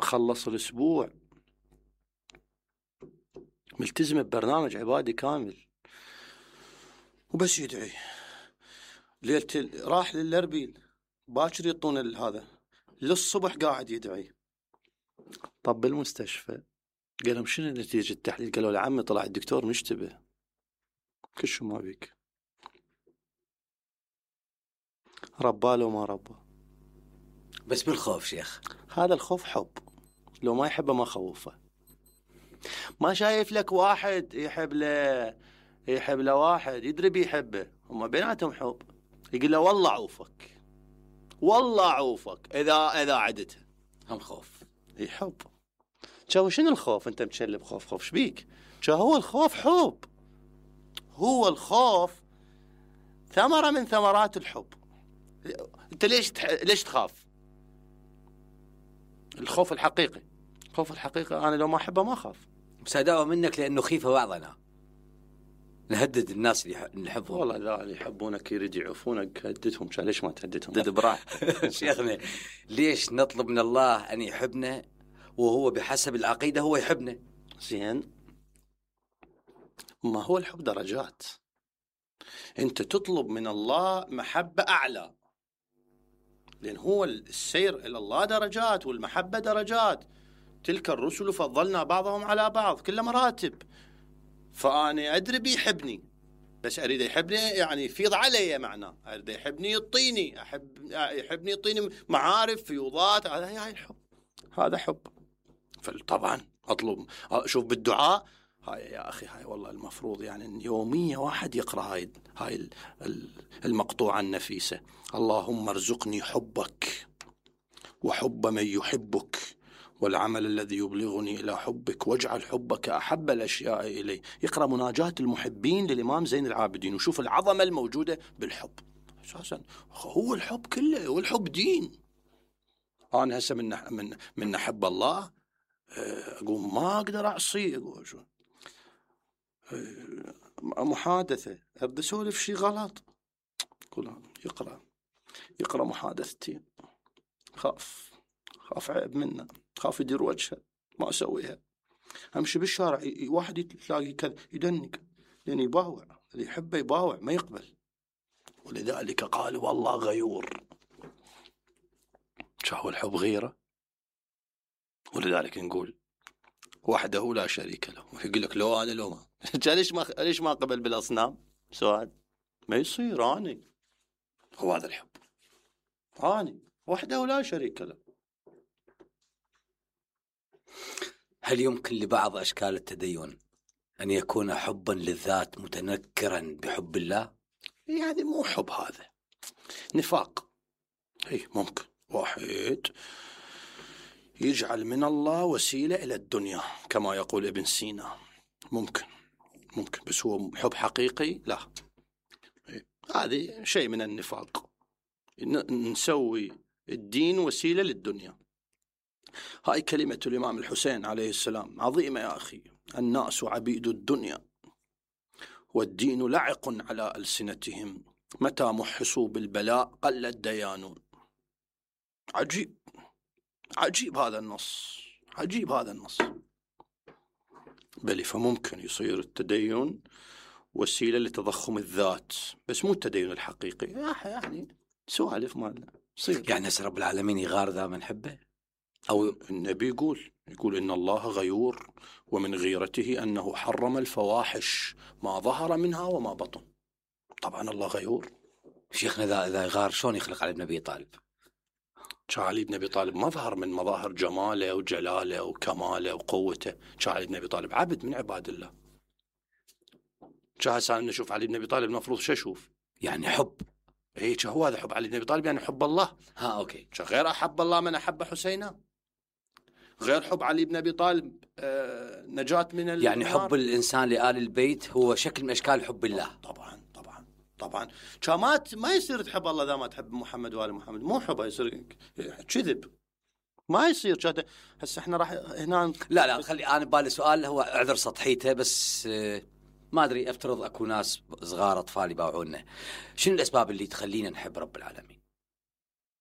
خلص الأسبوع ملتزم ببرنامج عبادي كامل وبس يدعي. ليلة راح للأربيل باكر يطون هذا للصبح قاعد يدعي. طب بالمستشفى قالهم شنو نتيجة التحليل؟ قالوا له عمي طلع الدكتور مشتبه. كل شو ما بيك، رباله وما ربى. بس بالخوف شيخ، هذا الخوف حب، لو ما يحبه ما خوفه. ما شايف لك واحد يحب له واحد يدري بيحبه، هم بيناتهم حب، يقول له والله عوفك والله عوفك اذا عدته، هم خوف. اي حب. شو شنو الخوف؟ انت متشلب خوف شبيك؟ شو هو الخوف؟ حب. هو الخوف ثمرة من ثمرات الحب. انت ليش تخاف؟ الخوف الحقيقي، الخوف الحقيقي انا لو ما احبه ما اخاف. بس اداوى منك لانه خيفه بعضنا نهدد الناس اللي نحبهم. والله لا، اللي يحبونك يريد يعوفونك هددهم. ليش ما تهددهم؟ هدد براحتك. شيخنا ليش نطلب من الله ان يحبنا وهو بحسب العقيده هو يحبنا؟ زين، ما هو الحب درجات. انت تطلب من الله محبه اعلى، لان هو السير الى الله درجات والمحبه درجات. تلك الرسل فضلنا بعضهم على بعض، كل مراتب. فأنا أدري بيحبني، بس أريد يحبني يعني يفيض علي معناه. أريد يحبني يعطيني، يحبني يعطيني معارف فيوضات. هاي الحب، هذا حب. فطبعا أطلب، شوف بالدعاء هاي يا أخي، هاي والله المفروض يعني يوميا واحد يقرأ هاي المقطوعة النفيسة. اللهم ارزقني حبك وحب من يحبك والعمل الذي يبلغني إلى حبك واجعل حبك أحب الأشياء إلي. يقرأ مناجاة المحبين للإمام زين العابدين وشوف العظمة الموجودة بالحب. أساسا هو الحب كله، والحب دين. أنا هسه من نحب الله أقول ما أقدر أعصيه. أقول شو محادثة أرد أسولف شي غلط، أقول يقرأ محادثتين، خاف عيب منه، خاف يدير وجهه، ما أسويها. أمشي بالشارع واحد تلاقي كذا يدنك، لأن يباوع، اللي يحبه يباوع ما يقبل. ولذلك قال والله غيور. شو هو الحب؟ غيرة. ولذلك نقول وحده لا شريك له. يقول لك لو أنا لو ما ليش ما قبل بالأصنام؟ سؤال ما يصير. أنا هو هذا الحب، أنا وحده لا شريك له. هل يمكن لبعض أشكال التدين أن يكون حبا للذات متنكرا بحب الله؟ يعني مو حب، هذا نفاق. هي ممكن واحد يجعل من الله وسيلة إلى الدنيا كما يقول ابن سينا. ممكن بس هو حب حقيقي لا. هذه شيء من النفاق، نسوي الدين وسيلة للدنيا. هاي كلمة الإمام الحسين عليه السلام عظيمة يا أخي. الناس عبيد الدنيا والدين لعق على ألسنتهم، متى محسوا بالبلاء قل الديانون. عجيب هذا النص، عجيب هذا النص. بل فممكن يصير التدين وسيلة لتضخم الذات، بس مو التدين الحقيقي. يعني سوالف مالنا صير. يعني رب العالمين يغار ذا من حبه؟ أو النبي يقول إن الله غيور ومن غيرته أنه حرم الفواحش ما ظهر منها وما بطن. طبعا الله غيور. شيخنا إذا غار شلون يخلق علي بن أبي طالب؟ علي بن أبي طالب مظهر من مظاهر جماله وجلاله وكماله وقوته. علي بن أبي طالب عبد من عباد الله. هسه نشوف علي بن أبي طالب المفروض شو أشوف؟ يعني حب. إيه هو هذا حب علي بن أبي طالب، يعني حب الله. أوكي. غير أحب الله من أحب حسينا، غير حب علي بن أبي طالب نجاة من النار. يعني حب الإنسان لآل البيت هو شكل من أشكال حب الله. طبعا ما يصير تحب الله إذا ما تحب محمد وآل محمد. مو حب، يصير كذب، ما يصير. هسه احنا راح هنا لا خلي أنا بالي سؤال هو اعذر سطحيته، بس ما أدري، أفترض أكو ناس صغار أطفال يباوعونا. شنو الأسباب اللي تخلينا نحب رب العالمين؟